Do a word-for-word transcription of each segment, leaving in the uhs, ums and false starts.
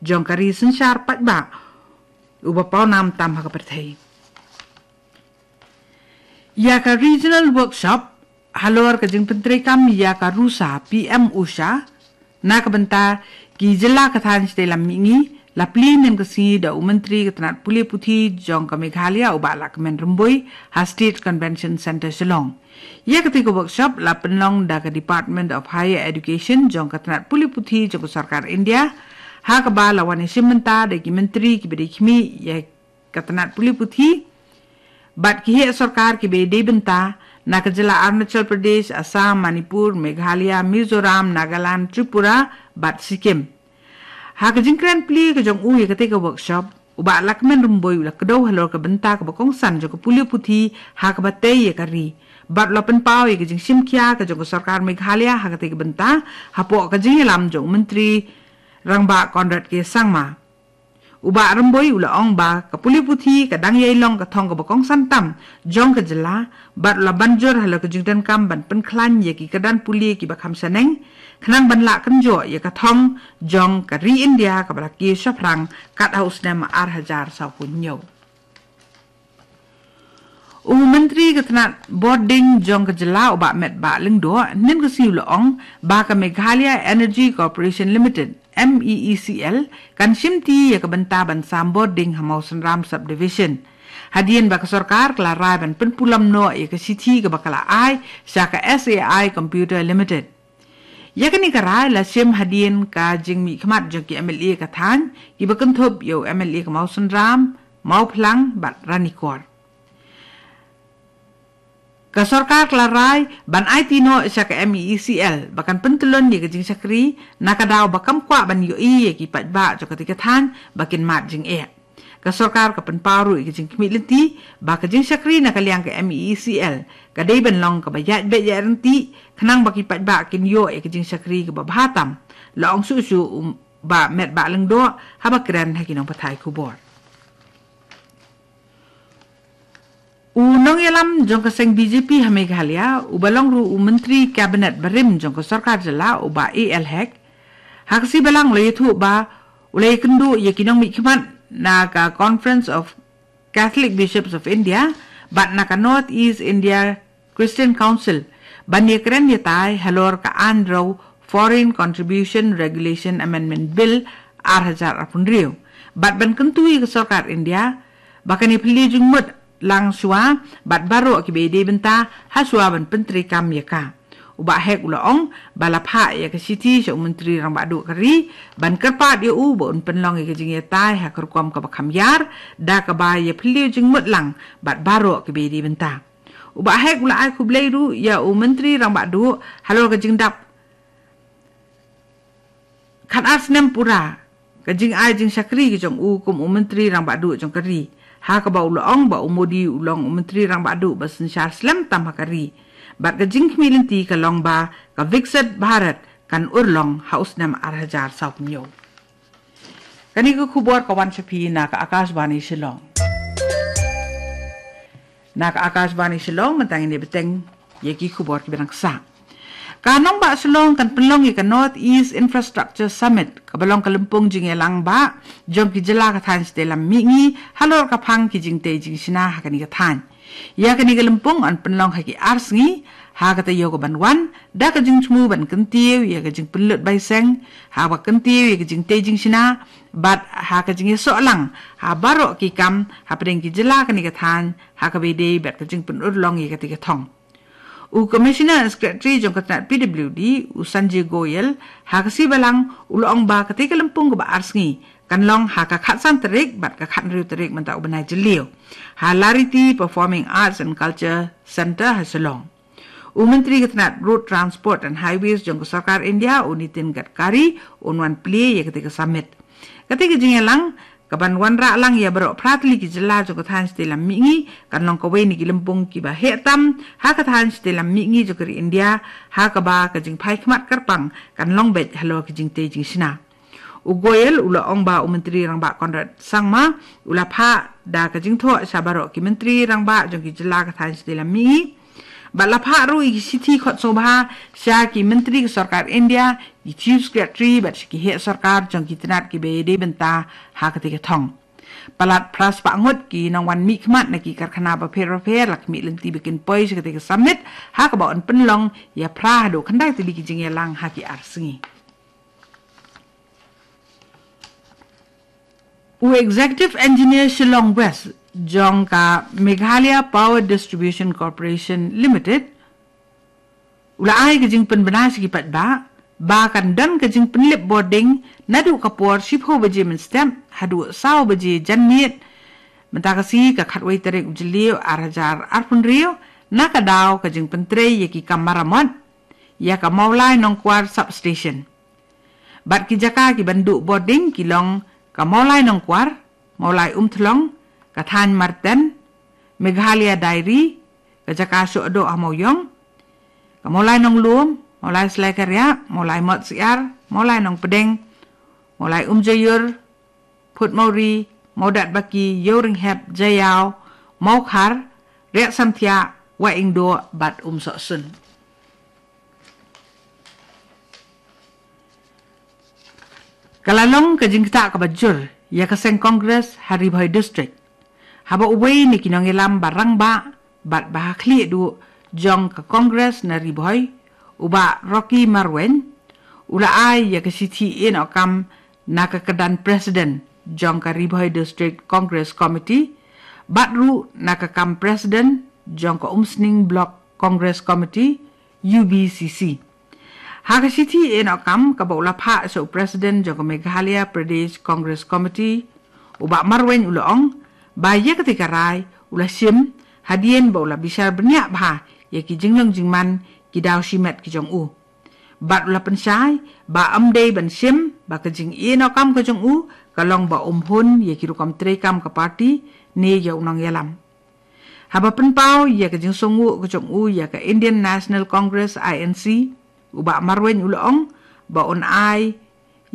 jong ka ri synshar paidbah uba pawnam tam ha ka pyrthei. Ïa ka regional workshop halor ka jingpyntreikam ïa ka Rusa P M Usha na ka bynta ki jylla ka thaiñ shatei lam mihngi la plie mynne ka sngi da u Myntri ka tnat pule puthi jong ka Meghalaya u Bah Lahkmen Rymbui ha State Convention Centre Shillong. Ïa katei ka workshop la pynlong da ka Department of Higher Education jong ka tnat pule puthi jong ka sorkar India, ha kaba la wan ïashim bynta da ki myntri kiba dei khmih ïa ka tnat pule puthi bad ki heh sorkar kiba dei bynta na ka jylla Arunachal Pradesh, Assam, Manipur, Meghalaya, Mizoram, Nagaland, Tripura bad Sikkim. Ha ka jingkren plie ka jong u ïa katei ka workshop, u Bah Lahkmen Rymbui u la kdew halor ka bynta kaba kongsan jong ka pule puthi ha kaba tei ïa ka ri bad u la pynpaw ïa ka jingshim khia ka jong ka sorkar Meghalaya ha katei ka bynta hapoh ka jingïalam jong u Myntri Rangbah Conrad K Sangma. U Bah Rymbui u la ong ba ka pule puthi ka dang ïai long ka thong kaba kongsan tam jong ka jylla bad u la ban jur halor ka jingdonkam ban pynkhlaiñ ïa ki kyrdan pule kiba kham shaneng khnang ban lah kynjoh ïa ka thong jong ka ri India kaba la kiew shaphrang kat ha u snem ar hajar sawphew hynñiew. U Myntri ka tnat bording jong ka jylla u Bah Metbah Lyngdoh mynne ka sngi u la ong ba ka Meghalaya Energy Corporation Limited, M E E C L, kan shimti ïa ka bynta ban sam bording ha Mawsynram Subdivision, hadien ba ka sorkar ka la rai ban pynpulom noh ïa ka shithi kaba ka la ai sha ka S A I Computer Limited. Ïa kane ka rai la shim hadien ka jingmihkhmat jong ki M L A ka thaiñ kiba kynthup ïa u M L A ka Mawsynram, Mawphlang bad Ranikor. Ka sorkar ka la rai ban aiti noh sha ka M E E C L ba kan pyntyllun ïa ka jingshakri na ka daw ba kam kwah ban ïohi ïa ki paidbah jong katei ka thaiñ ba kin mad jingeh. Ka sorkar ka pynpaw ruh ïa ka jingkhmih lynti ba ka jingshakri na ka liang ka M E E C L ka dei ban long kaba ïaid beit ïaid ryntih khnang ba ki paidbah kin ïoh ïa ka jingshakri kaba bha tam, la ong shuh shuh u Bah Metbah Lyngdoh haba kren ha ki nongpathai khubor. U nongïalam jong ka seng B J P ha Meghalaya uba long ruh u Myntri Kabinet barim jong ka sorkar jylla u Bah A L Hek, ha ka sngi Balang u la ïathuh ba u la ïakynduh ïa ki nongmihkhmat na ka Conference of Catholic Bishops of India bad na ka North East India Christian Council ban ïakren ïatai halor ka Aiñ Rew Foreign Contribution Regulation Amendment Bill ar hajar arphew hynriew bad ban kyntu ïa ka sorkar India ba kan ïaphylliew jingmut lang shuwa bad baroh kiba dei bynta ha shuwa ban pyntreikam ïa ka. U Bah Hek u la ong ba la phah ïa ka shithi sha u Myntri Rangbah Duh ka ri ban kyrpad ïa u ba un pynlong ïa ka jingïatai ha ka rukom kaba kham ïar da kaba ïaphylliew jingmut lang bad baroh kiba dei bynta. U Bah Hek u la ai khublei ruh ïa u Myntri Rangbah Duh halor ka jingdap khatar snem pura ka jingai jingshakri ka jong u kum u Myntri Rangbah Duh jong ka ri, ha kaba u la ong ba u Modi u long u Myntri Rangbah Duh ba synshar slem tam ha ka ri bad ka jingkhmih lynti ka long ba ka Viksit Bharat kan urlong ha u snem ar hajar sawphew hynñiew. Kane ka khubor ka wan sha phi na ka Akashvani Shillong. Na ka Akashvani Shillong mynta ngin ïa bteng ïa ki khubor kiba dang sah. Ka nongbah Shillong kan pynlong ïa ka North East Infrastructure Summit kaba long ka lympung jingïalang bah jong ki jylla ka thaiñ shatei lam mihngi halor ka phang ki jingtei jingshna ha kane ka thaiñ. Ïa kane ka lympung yn pynlong ha ki ar sngi, ha ka taïew kaban wan da ka jingthmu ban kyntiew ïa ka jingpynlut baiseng, ha kaba kyntiew ïa ka jingtei jingshna bad ha ka jingïasoh lang ha baroh ki kam hapdeng ki jylla kane ka thaiñ ha kaba ïadei bad ka jingpynurlong ïa katei ka thong. U Commissioner and Secretary jong ka tnat P W D, u Sanjay Goyal, ha ka sngi Balang u la ong ba katei ka lympung kaba ar sngi kan long ha ka khatsan tarik bad ka khathynriew tarik mynta u bnai Jylliew ha Lariti Performing Arts and Culture Centre ha Shillong. U Myntri ka tnat Road Transport and Highways jong ka sorkar India, u Nitin Gadkari, un wan plie ïa katei ka summit. Katei ka jingïalang kaban wanrah lang ïa baroh phra tylli ki jylla jong ka thaiñ shatei lam mihngi kan long kawei na ki lympung kiba heh tam ha ka thaiñ shatei lam mihngi jong ka ri India, ha kaba ka jingphai khmat kyrpang kan long beit halor ka jingtei jingshna. U Goyal u la ong ba u Myntri Rangbah Conrad Sangma u la phah da ka jingthoh sha baroh ki Myntri Rangbah jong ki jylla ka thaiñ shatei lam mihngi Bad la phah ruh ïa ki shithi khot sngewbha sha ki myntri ka sorkar India, ki chief secretary bad sha ki heh sorkar jong ki tnat kiba ïadei bynta ha kata ka thong. Palat phra spah ngut ki nongwan mihkhmat na ki karkhana bapher bapher la khmih lynti ba kin poi sha kata ka summit, ha kaba yn pynlong ïa phra haduh khyndai tylli ki jingïalang ha ki ar sngi. U Executive Engineer Shillong West jong ka Meghalaya Power Distribution Corporation Limited u la ai ka jingpynbna sha ki paidbah ba kan don ka jingpynlip bording naduh ka por shiphew baje mynstep haduh saw baje janmiet mynta ka sngi, ka khatwei tarik u Jylliew ar hajar arphew hynriew, na ka daw ka jingpyntrei ïa ki kam maramot ïa ka Mawlai Nongkwar Substation. Bad ki jaka ki ban duh bording ki long ka Mawlai Nongkwar, Mawlai Umthlong, ka Thaiñ Marten, Meghalaya Dairy, ka jaka shoh doh ha Mawiong, ka Mawlai Nonglum, Mawlai Slaikaria, Mawlai Motsiar, Mawlai Nongpdeng, Mawlai Umjaiur, Phutmawri, Mawdatbaki, Ïewrynghep, Jaïaw, Mawkhar, Riatsamthiah, Wahingdoh bad Umsohsun. Ka la long ka jingktah kaba jur ïa ka seng Congress ha Ri Bhoi District, haba uwei na ki nongïalam ba rangbah bad ba ha khlieh duh jong ka Congress na Ri Bhoi, u Bah Rocky Marwein, u la ai ïa ka shithi ïehnoh kam na ka kyrdan President jong ka Ri Bhoi District Congress Committee bad ruh na ka kam President jong ka Umsning Block Congress Committee, U B C C. Ha ka shithi ïehnoh kam kaba u la phah sha u President jong ka Meghalaya Pradesh Congress Committee, u Bah Marwein u la ong ba ïa kata ka rai u la shim hadien ba u la bishar bniah bha ïa ki jinglong jingman, ki daw shimet ki jong u. Bad u la pynshai ba ym dei ban shim ba ka jingïehnoh kam ka jong u ka long ba um hun ïa ki rukom treikam ka party ne ïa u nongïalam. Haba pynpaw ïa ka jingsngewnguh ka jong u ïa ka Indian National Congress, I N C, u Bah Marwein u la ong ba un ai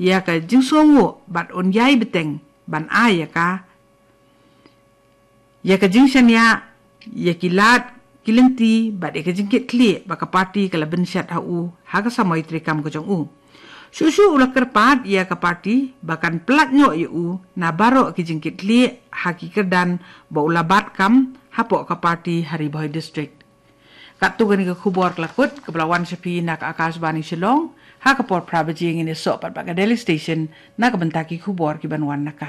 ïa ka jingsngewnguh bad un ïai bteng ban ai ïa ka ïa ka jingshaniah ïa ki lad ki lynti bad ïa ka jingkitkhlieh ba ka party ka la bynshet ha u ha ka samoi treikam ka jong u. Shuh shuh u la kyrpad ïa ka party ba kan pyllait noh ïa u na baroh ki jingkitkhlieh ha ki kyrdan ba u la bat kam hapoh ka party ha Ri Bhoi District. Katto kane ka khubor ka la kut kaba la wan sha phi na ka Akashvani Shillong. Ha ka por phra baje ngin ïasoh pat bad ka Delhi Station na ka bynta ki khubor ki ban wan na ka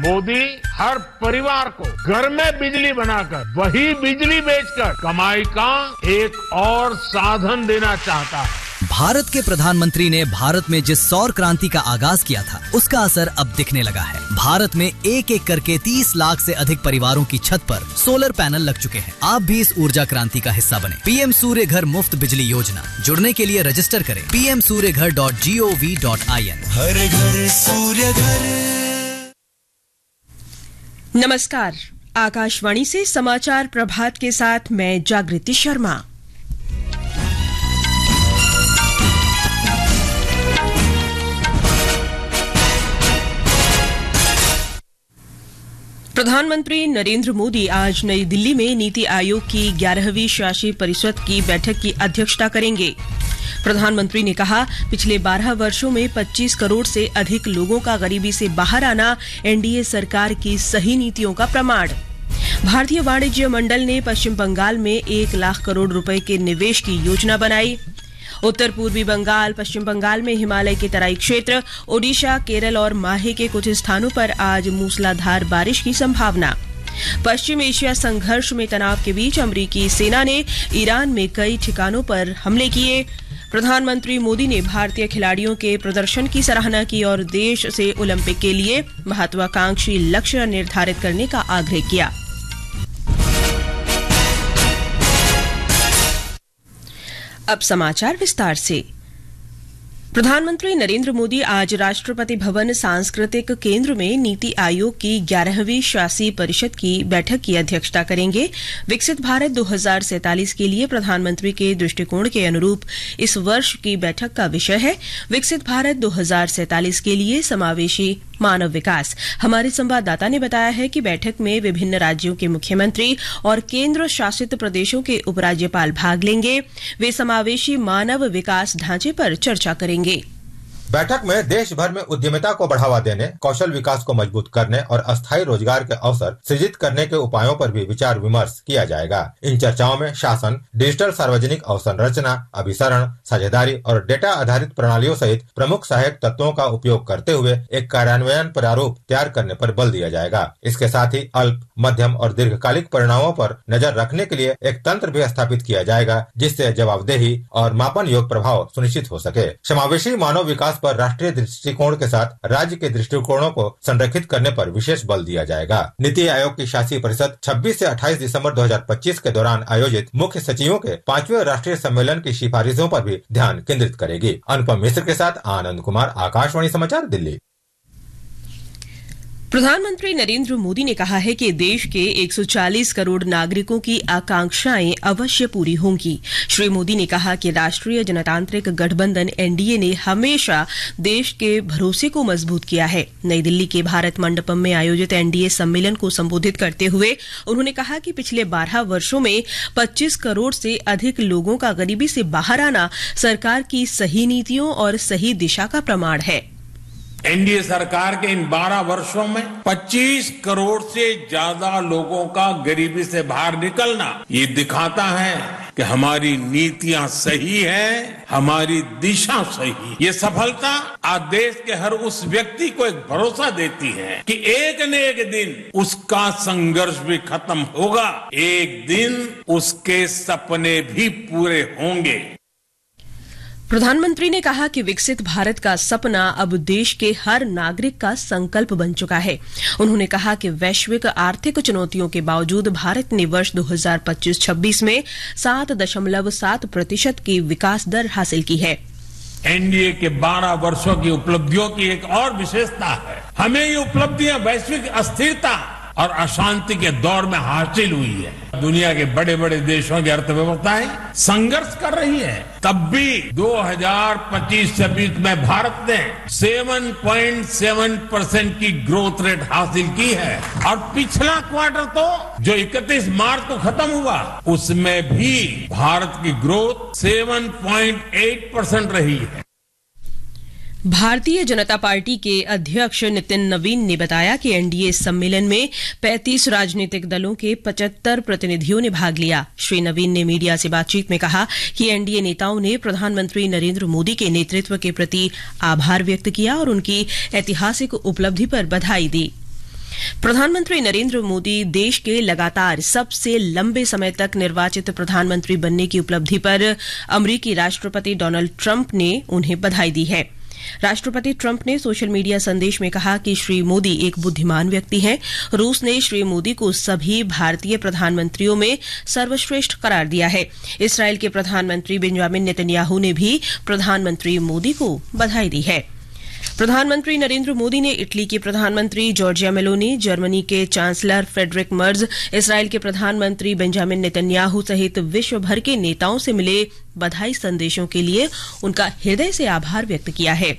मोदी हर परिवार को घर में बिजली बनाकर वही बिजली बेचकर कमाई का एक और साधन देना चाहता है। भारत के प्रधानमंत्री ने भारत में जिस सौर क्रांति का आगाज किया था, उसका असर अब दिखने लगा है। भारत में एक एक करके तीस लाख से अधिक परिवारों की छत पर सोलर पैनल लग चुके हैं। आप भी इस ऊर्जा क्रांति का हिस्सा बने। पीएम सूर्य घर मुफ्त बिजली योजना। जुड़ने के लिए रजिस्टर करें पीएम सूर्य घर डॉट जीओवी डॉट आईएन। हर घर सूर्य घर। नमस्कार, आकाशवाणी से समाचार प्रभात के साथ मैं जागृति शर्मा। प्रधानमंत्री नरेंद्र मोदी आज नई दिल्ली में नीति आयोग की ग्यारहवीं शासी परिषद की बैठक की अध्यक्षता करेंगे। प्रधानमंत्री ने कहा, पिछले बारह वर्षों में पच्चीस करोड़ से अधिक लोगों का गरीबी से बाहर आना एनडीए सरकार की सही नीतियों का प्रमाण। भारतीय वाणिज्य मंडल ने पश्चिम बंगाल में एक लाख करोड़ रुपए के निवेश की योजना बनाई। उत्तर पूर्वी बंगाल, पश्चिम बंगाल में हिमालय के तराई क्षेत्र, ओडिशा, केरल और माहे के कुछ स्थानों पर आज मूसलाधार बारिश की संभावना। पश्चिम एशिया संघर्ष में तनाव के बीच अमरीकी सेना ने ईरान में कई ठिकानों पर हमले किए। प्रधानमंत्री मोदी ने भारतीय खिलाड़ियों के प्रदर्शन की सराहना की और देश से ओलंपिक के लिए महत्वाकांक्षी लक्ष्य निर्धारित करने का आग्रह किया। अब समाचार विस्तार से। प्रधानमंत्री नरेंद्र मोदी आज राष्ट्रपति भवन सांस्कृतिक केंद्र में नीति आयोग की ग्यारहवीं शासी परिषद की बैठक की अध्यक्षता करेंगे। विकसित भारत दो हज़ार सैंतालीस के लिए प्रधानमंत्री के दृष्टिकोण के अनुरूप इस वर्ष की बैठक का विषय है विकसित भारत दो हज़ार सैंतालीस के लिए समावेशी मानव विकास। हमारे संवाददाता ने बताया है कि बैठक में विभिन्न राज्यों के मुख्यमंत्री और केंद्र शासित प्रदेशों के उपराज्यपाल भाग लेंगे। वे समावेशी मानव विकास ढांचे पर चर्चा करेंगे। बैठक में देश भर में उद्यमिता को बढ़ावा देने, कौशल विकास को मजबूत करने और अस्थायी रोजगार के अवसर सृजित करने के उपायों पर भी विचार विमर्श किया जाएगा। इन चर्चाओं में शासन, डिजिटल सार्वजनिक अवसंरचना, अभिसरण, साझेदारी और डेटा आधारित प्रणालियों सहित प्रमुख सहायक तत्वों का उपयोग करते हुए एक कार्यान्वयन प्रारूप तैयार करने पर बल दिया जाएगा। इसके साथ ही अल्प, मध्यम और दीर्घकालिक परिणामों पर नजर रखने के लिए एक तंत्र भी स्थापित किया जाएगा, जिससे जवाबदेही और मापन योग्य प्रभाव सुनिश्चित हो सके। समावेशी मानव विकास पर राष्ट्रीय दृष्टिकोण के साथ राज्य के दृष्टिकोणों को संरेखित करने पर विशेष बल दिया जाएगा। नीति आयोग की शासी परिषद छब्बीस से अट्ठाईस दिसंबर दो हज़ार पच्चीस के दौरान आयोजित मुख्य सचिवों के पांचवें राष्ट्रीय सम्मेलन की सिफारिशों पर भी ध्यान केंद्रित करेगी। अनुपम मिश्र के साथ आनंद कुमार, आकाशवाणी समाचार, दिल्ली। प्रधानमंत्री नरेंद्र मोदी ने कहा है कि देश के एक सौ चालीस करोड़ नागरिकों की आकांक्षाएं अवश्य पूरी होंगी। श्री मोदी ने कहा कि राष्ट्रीय जनतांत्रिक गठबंधन, एनडीए, ने हमेशा देश के भरोसे को मजबूत किया है। नई दिल्ली के भारत मंडपम में आयोजित एनडीए सम्मेलन को संबोधित करते हुए उन्होंने कहा कि पिछले बारह वर्षों में पच्चीस करोड़ से अधिक लोगों का गरीबी से बाहर आना सरकार की सही नीतियों और सही दिशा का प्रमाण है। एनडीए सरकार के इन बारह वर्षों में पच्चीस करोड़ से ज्यादा लोगों का गरीबी से बाहर निकलना, ये दिखाता है कि हमारी नीतियां सही हैं, हमारी दिशा सही। ये सफलता आज देश के हर उस व्यक्ति को एक भरोसा देती है कि एक न एक दिन उसका संघर्ष भी खत्म होगा, एक दिन उसके सपने भी पूरे होंगे। प्रधानमंत्री ने कहा कि विकसित भारत का सपना अब देश के हर नागरिक का संकल्प बन चुका है। उन्होंने कहा कि वैश्विक आर्थिक चुनौतियों के बावजूद भारत ने वर्ष दो हज़ार पच्चीस छब्बीस में सात दशमलव सात प्रतिशत की विकास दर हासिल की है। एनडीए के बारह वर्षों की उपलब्धियों की एक और विशेषता है, हमें ये उपलब्धियां वैश्विक अस्थिरता और अशांति के दौर में हासिल हुई है। दुनिया के बड़े-बड़े देशों की अर्थव्यवस्थाएं संघर्ष कर रही है, तब भी दो हज़ार पच्चीस छब्बीस में भारत ने सात पॉइंट सात परसेंट की ग्रोथ रेट हासिल की है। और पिछला क्वार्टर तो, जो इकतीस मार्च को खत्म हुआ, उसमें भी भारत की ग्रोथ सात पॉइंट आठ परसेंट रही है। भारतीय जनता पार्टी के अध्यक्ष नितिन नवीन ने बताया कि एनडीए सम्मेलन में पैंतीस राजनीतिक दलों के पचहत्तर प्रतिनिधियों ने भाग लिया। श्री नवीन ने मीडिया से बातचीत में कहा कि एनडीए नेताओं ने प्रधानमंत्री नरेंद्र मोदी के नेतृत्व के प्रति आभार व्यक्त किया और उनकी ऐतिहासिक उपलब्धि पर बधाई दी। प्रधानमंत्री नरेंद्र मोदी देश के लगातार सबसे लंबे समय तक निर्वाचित प्रधानमंत्री बनने की उपलब्धि पर अमरीकी राष्ट्रपति डोनाल्ड ट्रंप ने उन्हें बधाई दी है। राष्ट्रपति ट्रंप ने सोशल मीडिया संदेश में कहा कि श्री मोदी एक बुद्धिमान व्यक्ति हैं। रूस ने श्री मोदी को सभी भारतीय प्रधानमंत्रियों में सर्वश्रेष्ठ करार दिया है। इसराइल के प्रधानमंत्री बेंजामिन नेतन्याहू ने भी प्रधानमंत्री मोदी को बधाई दी है। प्रधानमंत्री नरेंद्र मोदी ने इटली की प्रधानमंत्री जॉर्जिया मेलोनी, जर्मनी के चांसलर फ्रेडरिक मर्ज, इसराइल के प्रधानमंत्री बेंजामिन नेतन्याहू सहित विश्व भर के नेताओं से मिले बधाई संदेशों के लिए उनका हृदय से आभार व्यक्त किया है।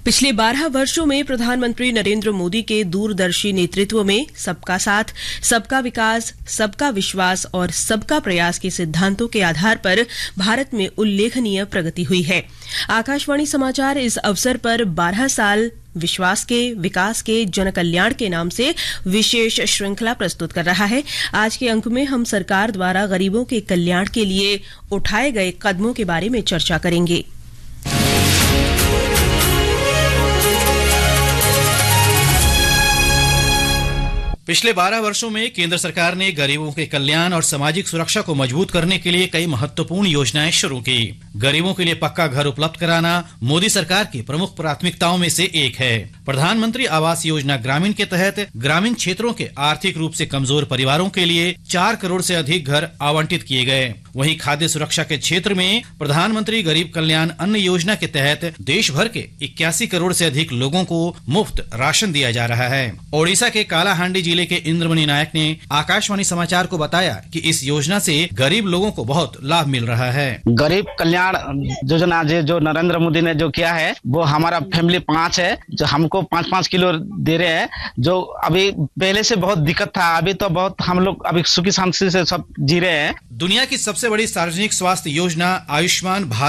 पिछले बारह वर्षों में प्रधानमंत्री नरेंद्र मोदी के दूरदर्शी नेतृत्व में सबका साथ, सबका विकास, सबका विश्वास और सबका प्रयास के सिद्धांतों के आधार पर भारत में उल्लेखनीय प्रगति हुई है। आकाशवाणी समाचार इस अवसर पर बारह साल विश्वास के, विकास के, जन कल्याण के नाम से विशेष श्रृंखला प्रस्तुत कर रहा है। आज के अंक में हम सरकार द्वारा गरीबों के कल्याण के लिए उठाए गए कदमों के बारे में चर्चा करेंगे। पिछले बारह वर्षों में केंद्र सरकार ने गरीबों के कल्याण और सामाजिक सुरक्षा को मजबूत करने के लिए कई महत्वपूर्ण योजनाएं शुरू की। गरीबों के लिए पक्का घर उपलब्ध कराना मोदी सरकार की प्रमुख प्राथमिकताओं में से एक है। प्रधानमंत्री आवास योजना ग्रामीण के तहत ग्रामीण क्षेत्रों के आर्थिक रूप से कमजोर परिवारों के लिए चार करोड़ से अधिक घर आवंटित किए गए। वहीं खाद्य सुरक्षा के क्षेत्र में प्रधानमंत्री गरीब कल्याण अन्न योजना के तहत देश भर के इक्यासी करोड़ से अधिक लोगों को मुफ्त राशन दिया जा रहा है। ओडिशा के कालाहांडी जिले के इंद्रमणि नायक ने आकाशवाणी समाचार को बताया कि इस योजना से गरीब लोगों को बहुत लाभ मिल रहा है। गरीब कल्याण योजना, जो जो नरेंद्र मोदी ने जो किया है, वो हमारा फैमिली पांच है, जो हमको पाँच पाँच किलो दे रहे हैं। जो अभी पहले से बहुत दिक्कत था, अभी तो बहुत हम लोग अभी सुखी शांति से सब जी रहे हैं। दुनिया की सबसे बड़ी सार्वजनिक स्वास्थ्य योजना आयुष्मान भारत